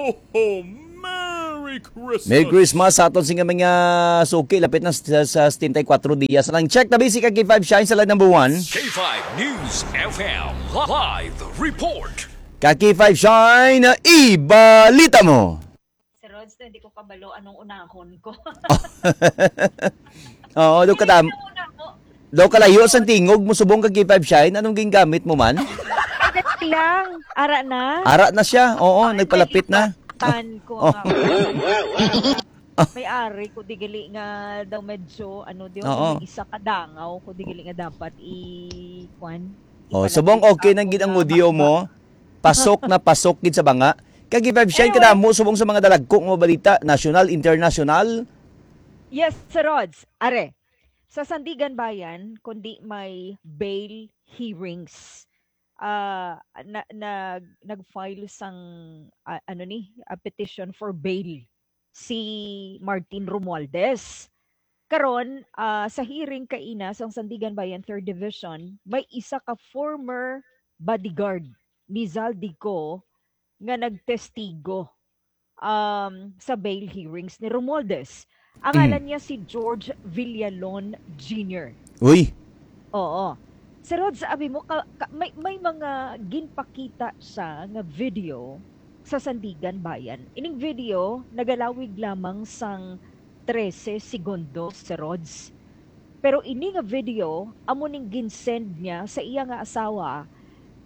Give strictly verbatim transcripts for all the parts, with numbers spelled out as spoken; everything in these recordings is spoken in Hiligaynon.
Oh, Merry Christmas! Merry Christmas sa aton sing mga suki. Lapit na sa, sa setenta y cuatro dias lang. Check the basic kag K five Shine sa line number one. K five News F M live report. Ka K five Shine, ibalita mo. Sir Rods, hindi ko kabalo anong unahon ko. Oo, do ka dam. Hindi ko unahon. Daw kalayo sang tingog mo subong kag K five Shine, anong gingamit mo man? Dali lang. Ara na. Ara na siya. Oo, Ay, nagpalapit na. Tan ko Oh. nga. May ari ko digali nga daw medyo, ano, di Oo. May isa ka dangaw ko digali nga dapat i-, kwan, Oh, ipalamig subong okay nang ako gid ang na audio ma- mo. Pasok na pasok gid sa banga. Kag K five Shine, Anyway. Kadamo subong sa mga dalagko nga balita, national, international. Yes, Sir Rods. Are, sa Sandiganbayan, kundi may bail hearings. Ah, na, nag, nag-file sang, ah, ano ni, ah, petition for bail si Martin Romualdez. Karon, ah, sa hearing kaina sang Sandiganbayan Third Division, may isa ka former bodyguard ni Zaldy Co nga nagtestigo, um, sa bail hearings ni Romualdez. Ang Mm. ngalan niya si George Villalon Junior. Uy. Oo. Sir Rod, sabi mo, ka, ka, may, may mga ginpakita siya nga video sa Sandiganbayan. Ining video, nagalawig lamang sang trese segundos, Sir Rods. Pero ini nga video, amo ning ginsend niya sa iya nga asawa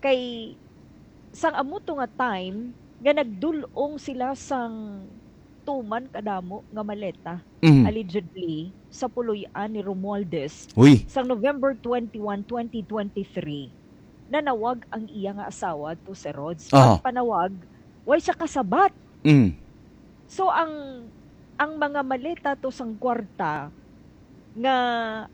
kay sang amo to nga time nga nagdul-ong sila sang tuman kadamo nga maleta, Mhm. allegedly, sa puloy-an ni Romualdez Uy. Sang November twenty-one, twenty twenty-three, nanawag ang iya nga asawa to Sir Rods. Aha. Ang panawag, way siya kasabat. Mm. So, ang, ang mga maleta to sang kwarta nga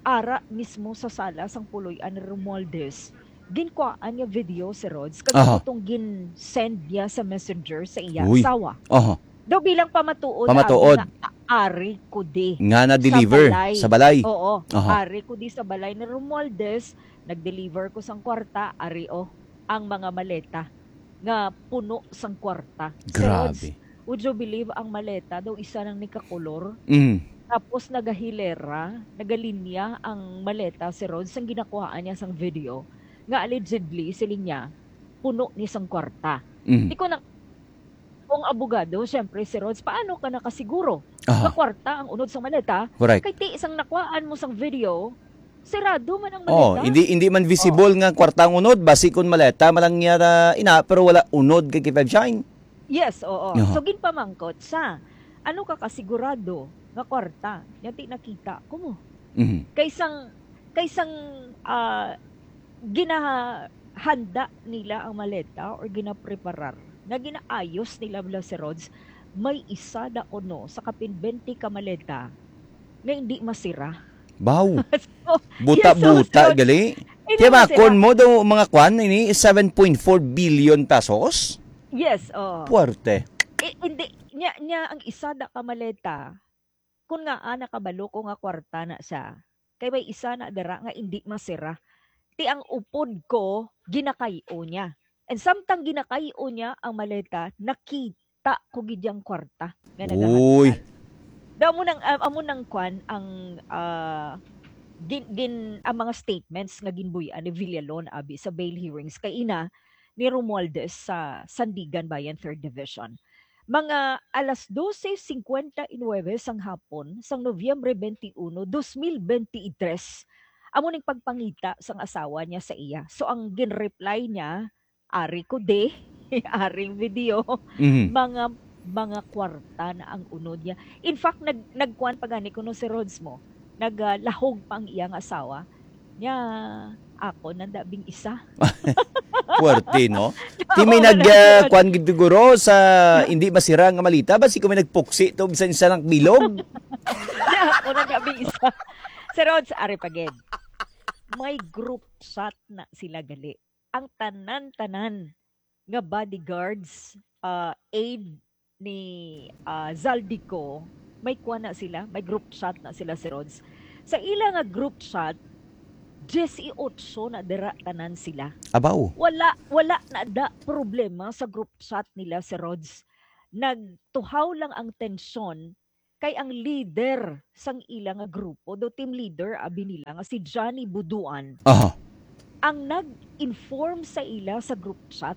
ara mismo sa sala sang puloy-an ni Romualdez, ginkuhaan niya video, Sir Rods, kag Aha. Amo tong gin-send niya sa messenger sa iya Uy. Asawa. Aha. Daw bilang pamatuod, Pamatuod. Abi nga, a-, ari ko di Nga sa na-deliver balay. Sa balay. Oo, Aha. Ari ko di sa balay ni Romualdez, nag-deliver ko sang kwarta, ari, oh, ang mga maleta nga puno sang kwarta. Sir Rods, Grabe. Would you believe, ang maleta daw isa nang nikakolor? Mm. Tapos nagahilera, nagalinya ang maleta, Sir Rods, sang ginakuhaan niya sang video nga allegedly, siling niya, puno ni sang kwarta. Mm. Di ko na, kung abogado, syempre, Sir Rods, paano ka nakasiguro Aha. nga kwarta ang unod sang maleta? Correct. Kay ti sang nakuhaan mo sang video, sirado man ang Oh, maleta. hindi, hindi man visible Oh. nga kwarta ang unod, basi kun maleta man lang niya na ina, pero wala unod kay K five Shine. Yes, oo. Aha. So, ginpamangkot sa, ano ka kasigurado nga kwarta? Nya ti nakita ko mo. Mhm. Kaysang, kaysang, ah, ginahanda nila ang maleta or ginapreparar, nga ginaayos nila, bala, Sir Rods, may isa na kuno sa kapin bente ka maleta nga hindi masira. Baw. So, Buta-buta, yes, so, so, gali. Hindi Kaya ba, masira. Kon mo daw mga kwan, ini, seven point four billion pesos? Yes, oo. Puwerte. Eh, hindi, nya, nya ang isa na ka maleta, kun nga, ah, nakabalo ko nga kwarta na siya, kay may isa na dira nga hindi masira. Ti ang upod ko, ginakay-o niya. And samtang ginakay-o niya ang maleta, nakita ko gid yang kwarta nga Uy. nagahansal. Daw amo nang, ah, amo nang kwan ang, ah, gin, gin, ang mga statements nga ginbuy-an ni Villalon abi sa bail hearings kay ina ni Romualdez sa Sandiganbayan Third Division. Mga alas dose cincuenta y nueve sang hapon sang Nobyembre twenty-one, dos mil bente y tres, amo ning pagpangita sang asawa niya sa iya. So, ang gin-reply niya, "Ari ko di, ari video, Mhm. mga, mga kwarta na ang unod niya." In fact, nag-, nagkuan pa gani kuno si Rods mo, nag, ah, lahog pa ang iyang asawa. Nya, ako nanda bing isa. Puwerte, no? Ti may Oo, nag, wala ah, ko. Kuan gid siguro sa hindi masira nga malita, basi ko may nagpuksi to bisan sa nang bilog. Nya, ako nanda bing isa. Sir Rods, ari pa gid. May group chat na sila gali. Ang tanan-tanan nga bodyguards, ah, aid ni, ah, Zaldy Co, may kuan na sila, may group chat na sila, Sir Rods. Sa ila nga group chat, diyes y otso na dira tanan sila. Abaw. Wala, wala na da problema sa group chat nila, Sir Rods. nagtuhaw lang ang tensyon kay ang leader sang ila nga grupo, daw team leader, abi nila nga si Johnny Buduan, Aha. ang nag-inform sa ila sa group chat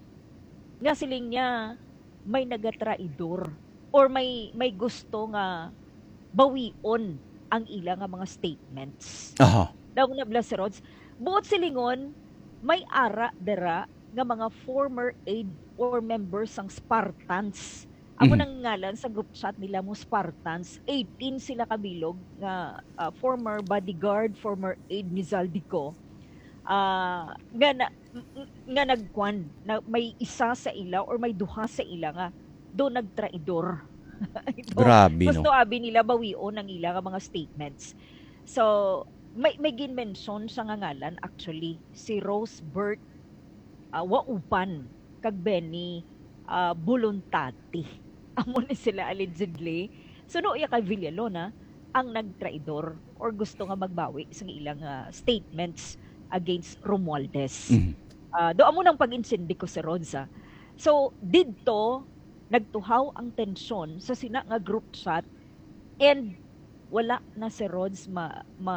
nga siling niya may nagatraidor or may may gusto nga bawion ang ila nga mga statements. Aha. Daw na bala si Rods, buot silingon, may ara dira nga mga former aide or members sang Spartans. Amo Mhm. nang ngalan sa group chat nila mo, Spartans. Eighteen sila kabilog nga ah, former bodyguard, former aide ni Zaldy Co. Ah, nga na, nga nagkwan na may isa sa ila or may duha sa ila nga do nagtraidor. Do, Grabe, no? Gusto abi nila bawion ang ila nga mga statements. So, may may ginmention siya nga ngalan, actually, si Rosebert ah, Waupan kag Benny ah, Buluntati. Amo ni sila allegedly. Suno iya kay Villalona ang nagtraidor or gusto nga magbawi sa ilang ah, statements against Romualdez. Mhm. Ah, do amo nang pag-insindi ko si Rods, ah. So, didto nagtuhaw ang tensyon sa sina nga group chat and wala na si Rods ma, ma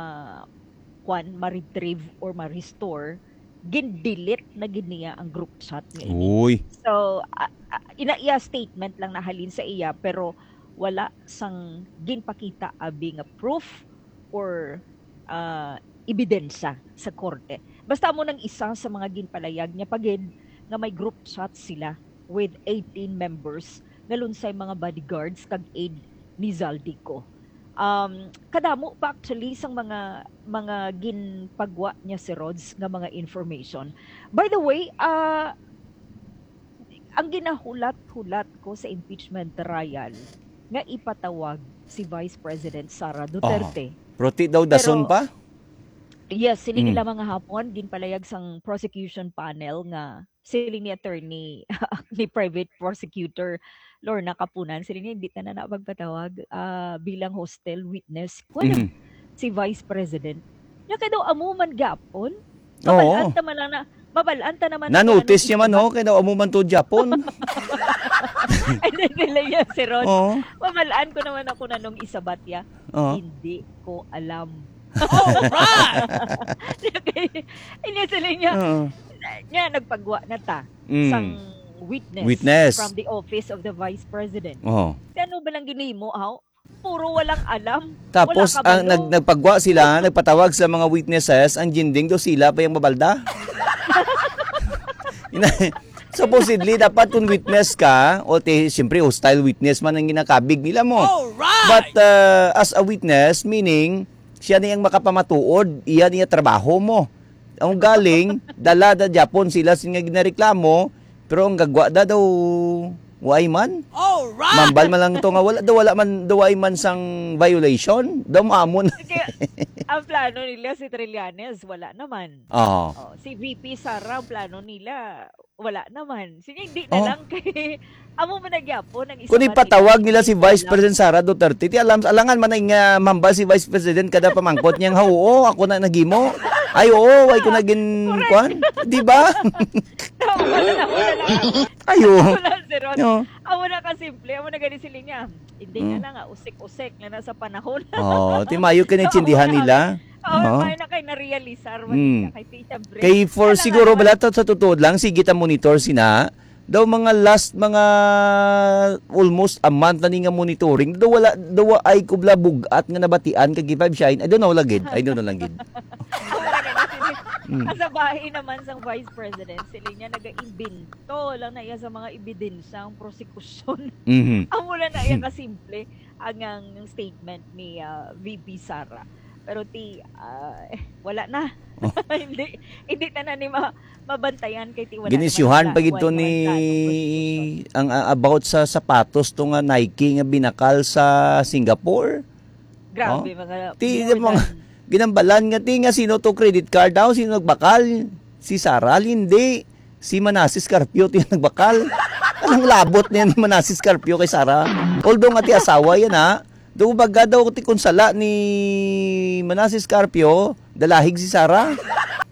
kwan, ma-retrieve or ma-restore, gin-delete na gid niya ang group chat nga ini. Uy. So, ah, ah, ina iya statement lang nahalin sa iya, pero wala sang ginpakita abi nga proof or ah, ebidensya sa korte. Basta amo nang isa sa mga ginpalayag niya pa gid nga may group chat sila with eighteen members nga lunsay mga bodyguards kag aide ni Zaldy Co. Um, kadamo pa actually sang mga mga ginpagwa niya si Rods nga mga information. By the way, ah, ang ginahulat-hulat ko sa impeachment trial nga ipatawag si Vice President Sara Duterte. Pero ti daw dason Pero- pa? Yes, sini Mm. nila mga hapon, ginpalayag sang prosecution panel nga siling ni attorney ni private prosecutor Lorna Kapunan, siling niya hindi ta na na magpatawag ah, bilang hostile witness. Kuwan Mhm. si Vice President. Nya kay daw amo man gapon. Oo. Mabalaan ta man lang na, mabalaan ta naman. Na-notice Kung niya man, anong ho, kay daw amo man to Japon. Ay, dili niya si Rod. Oo. Mabalaan ko naman ako na nung isabat ya. Oo. Hindi ko alam. Alright! Hindi sila niya. Oo. Niya, nagpagwa na ta Mm. sang witness, Witness. From the office of the vice president. Oo. Kaya ano ba lang ginimo, aw? Puro walang alam. Tapos Wala ang kabalo. nag nagpagwa sila, nagpatawag sa mga witnesses, ang ginding do sila pa yung mabalda. Ina- Supposedly dapat kung witness ka, o te siyempre hostile witness man ang ginakabig nila mo. Alright! But uh, as a witness, meaning siya na yung makapamatuod, iya niya trabaho mo. Ang galing, dala da Japon sila sin nga ginareklamo, pero ang gagwa da daw why man? Alright! Mambal man lang to nga wala daw wala man daw why man sang violation, daw maamon. Kaya, ang plano nila si Trillanes, wala naman. Oh. Oh, si V P Sara, ang plano nila, wala naman. Sige, hindi na Oh. lang kay amo man nagyapon ang isa Kung ka ipatawag team. nila si Vice President Sara Duterte, ti alam alangan man ang uh, mambal si Vice President kada pamangkot niya nga oo, ako na naghimo. Ay oo, why ko na gin kwan? Di ba? Wala na, wala na. Ayo. Wala si Ron. No. Amo na kasimple, amo na gani sila niya. Hindi na Mm. lang, ah, usik-usik na nasa panahon. Oh, ti mayo kini intindihan nila. Oh, Oh. May na kay narealisar man Mm. niya kay Tita Brenda. Kay for Wala siguro naman. Bala to sa totoo lang sige ta monitor sina daw mga last mga almost a month na ni nga monitoring daw wala daw ay kubla bugat nga nabatian kag five shine. I don't know lagid. I don't know lagid. Amo na gani sila. Mm. Sa bahay naman sang Vice President, sila niya nagaimbento lang na iya sa mga ebidensya ang prosekusyon. Mhm. Amo na na iya kasimple ang, ang statement ni ah, V P Sara. Pero ti ah, eh, wala na. Oh. hindi hindi na na ni ma- mabantayan kay ti wala Ginisyuhan naman pa gid to wala ni naman prosecution. ang uh, about sa sapatos to nga Nike nga binakal sa Singapore. Grabe Oh. mga Ti more mga than- ginambalan nga ti nga sino to credit card daw sino nagbakal si Sara hindi si Manasis Carpio ti nagbakal. Anong labot niya ni Manasis Carpio kay Sara? Although nga ti asawa yan ha. Do baga daw ti kung sala ni Manasis Carpio, dalahig si Sara.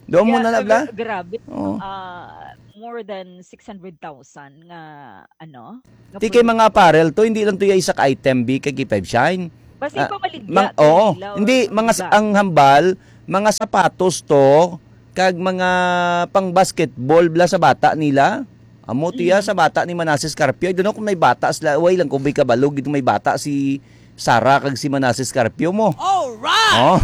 Do mo Yeah, na nabla? gra- Grabe. Oo. Ah, more than six hundred thousand nga, ano, nga Ti kay mga produkto. Apparel to, hindi lang to yung isa ka item, B, kay K five Shine. Basta Ah, ipamaligya mang, to oo, nila or hindi, mga s- iba. ang hambal, mga sapatos to, kag mga pang basketball bla sa bata nila. Amo tiya Mm. sa bata ni Manasseh Carpio. I don't know kung may bata sila. Way lang kung may kabalo gid may bata si Sarah kag si Manasseh Carpio mo. Alright! Oh.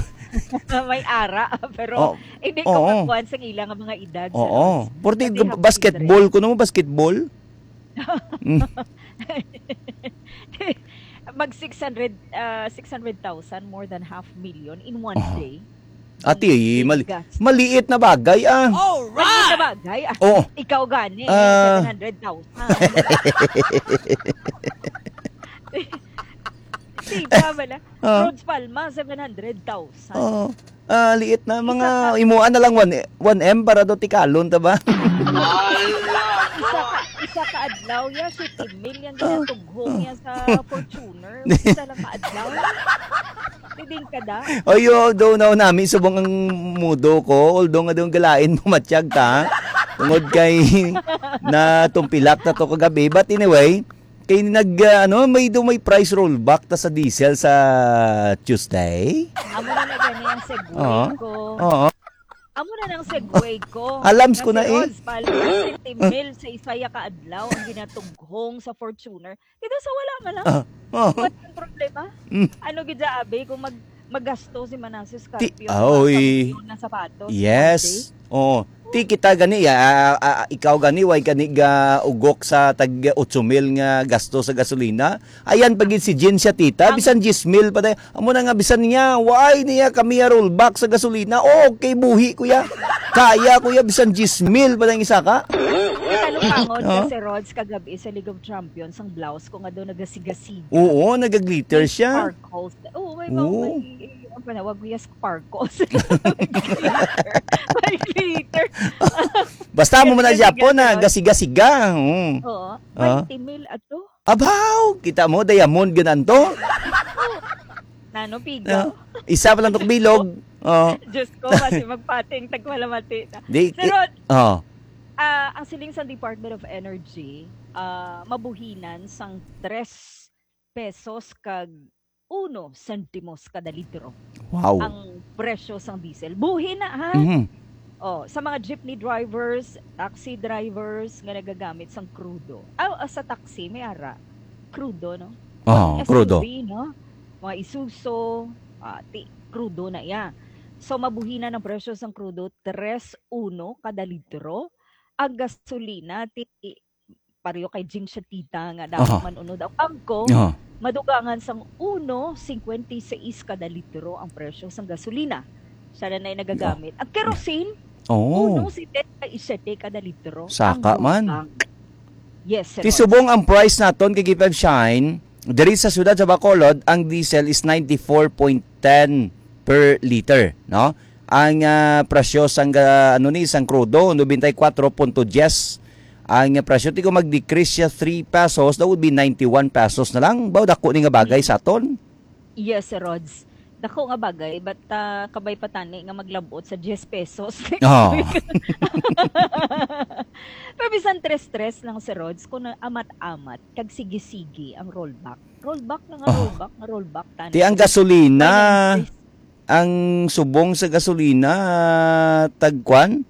May ara, pero Oh, hindi ko oo. kakuan sa ila nga mga edad. Oo. Sir Rods. Porti Pati half basketball ko no basketball. Mm. Mag six hundred, uh, six hundred thousand, more than half million in one Oh. Day. Ati, Ang mali, gas. Maliit na bagay ah. Maliit na bagay. Ah, Oh. Ikaw gani, Ah. seven hundred thousand. Diba, bala? Ah. Rods Palma, seven hundred thousand. Oh. Ah, liit na mga Isa ka- imuan na lang one, one M para do tikalon ta ba? Isa ka, isa ka adlaw ya, siyete mil yang ginatughong niya sa Fortuner. Isa lang ka adlaw. Pwedeng ka da? Oy, although na nami subong ang mudo ko, although nga daw galain mo matyag ka, tungod kay natumpilak na to kagabi. But anyway, kay nag, ah, ano, may daw may price rollback ta sa diesel sa Tuesday. Amo na na gani ang segue Oo. ko. Oo. Amo na nang segue ko. Alams ko na eh. Rods, pala, siyete mil sa isa ya ka adlaw ang ginatughong sa Fortuner. Dito sa wala man lang. Ah, oh. What ang problema? Mm. Ano gid sa abi kung mag magasto si Manasseh Ti- Carpio ah, oy. Ng sapatos? Yes. Oo. Ti kita gani, ah, ah, ah, ikaw gani, way gani ga ugok sa tag otso mil nga gasto sa gasolina. Ayan pa gid si Jean siya, tita. Ang- Bisan diyes mil pa tayo. Amo na nga, bisan niya, why niya kami ya rollback sa gasolina? Oh, okay, buhi, kuya. Kaya, kuya, bisan diyes mil pa tayo isa ka. Katalupangod Oh. Kasi Rods kagabi sa League of Champions ang blouse ko nga daw nagasigasiga. Oo, nagaglitter siya. Sparkles. Oo, may Oo. mga, may, ang panawag ko, yes, sparkles. May glitter. May glitter. Basta mo man na Gasiga-siga Japon na, siya. gasiga-siga. Oo. Oo. Ah. Twenty mil ato. Abaw, kita mo, diamond ganan to. Nano, piga? Ah, isa pa lang to bilog. Oh. Diyos ko, kasi magpating, tagmalamati na. Di, Sir Rod, oh. ah, ang siling sa Department of Energy, ah, mabuhinan sang tres pesos kag uno sentimos kada litro Wow. ang presyo sang diesel. Buhi na, ha? Mhm. Oh, sa mga jeepney drivers, taxi drivers nga nagagamit sang krudo. Ah, ah, sa taxi may ara krudo, no? Oh, S U V, krudo. No? Mga Isuzu, ah, ti, krudo na iya. So mabuhinan ang presyo sang krudo, tres uno kada litro. Ang gasolina, ti, pareho kay Jing Shatita nga dapat Aha. man unod ang bangko, Oh. madugangan sang uno cincuenta y seis kada litro ang presyo sang gasolina. Siya na na'y nagagamit. Ang kerosene, Oh. uno setenta y siete kada litro. Saka Ang man. dugang. Yes, sir. Ti subong ang price naton kay Gipag Shine, diri sa siyudad sa Bacolod, ang diesel is ninety-four point ten per liter, no? Ang ah, presyo sang ah, ano ni sang krudo, ninety-four point ten. Ang ah, presyo ti kung mag-decrease siya three pesos, that would be ninety-one pesos na lang. Baw dako ni nga bagay sa aton. Yes, Sir Rods. Dako nga bagay, but ah, kabay pa tani nga maglabot sa diyes pesos. Oh. Pero bisan tres-tres lang, Sir Rods, kung na- amat-amat, kag sige-sige ang rollback. Rollback na nga, Oh. rollback na, rollback tani. Ti ang gasolina, Finance. Ang subong sa gasolina, tagkwan,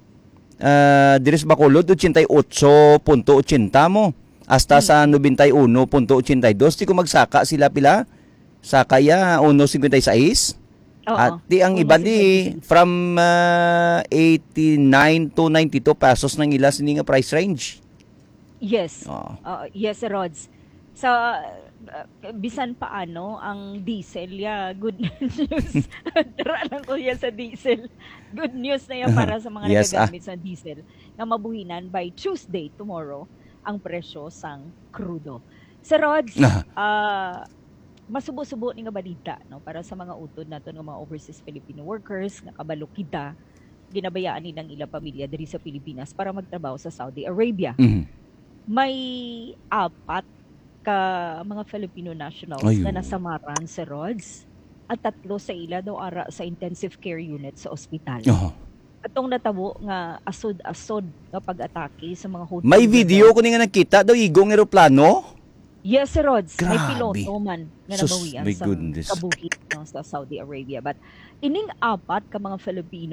ah, diri sa Bacolod, ochenta y ocho punto ochenta mo. Hasta sa noventa y uno punto ochenta y dos. Ti kung magsaka sila pila? Saka ya, uno cincuenta y seis? Oo. At ti ang Uno iban di cincuenta y seis. From ah, eighty-nine to ninety-two pesos nang ila sini nga price range. Yes. Oo. Oo, yes, Rods. Sa uh, bisan paano ang diesel ya, good news. Tara lang ko ya sa diesel. Good news na yan para sa mga Yes, ah. nagagamit sa diesel na mabuhinan by Tuesday, tomorrow, ang presyo sang krudo. Sir Rods, Ah. ah, masubo-subo ni nga balita, no, para sa mga utod naton nga mga overseas Filipino workers nga kabalo kita ginabayaan nila ang ilang pamilya diri sa Pilipinas para magtrabaho sa Saudi Arabia. Mhm. May apat ka mga Filipino nationals Ay, na oo. nasamaran sa Rods at tatlo sa ila daw ara sa intensive care unit sa ospital. Oh. Atong natabo nga asod-asod nga pag-atake sa mga hotel May nga video daw- ko ni nga nakita daw igong eroplano. Yes, Sir Rods. May Grabe. Piloto man nga Sus, nabawian my sa goodness. kabuhi, no, sa Saudi Arabia. But ining apat ka mga Filipino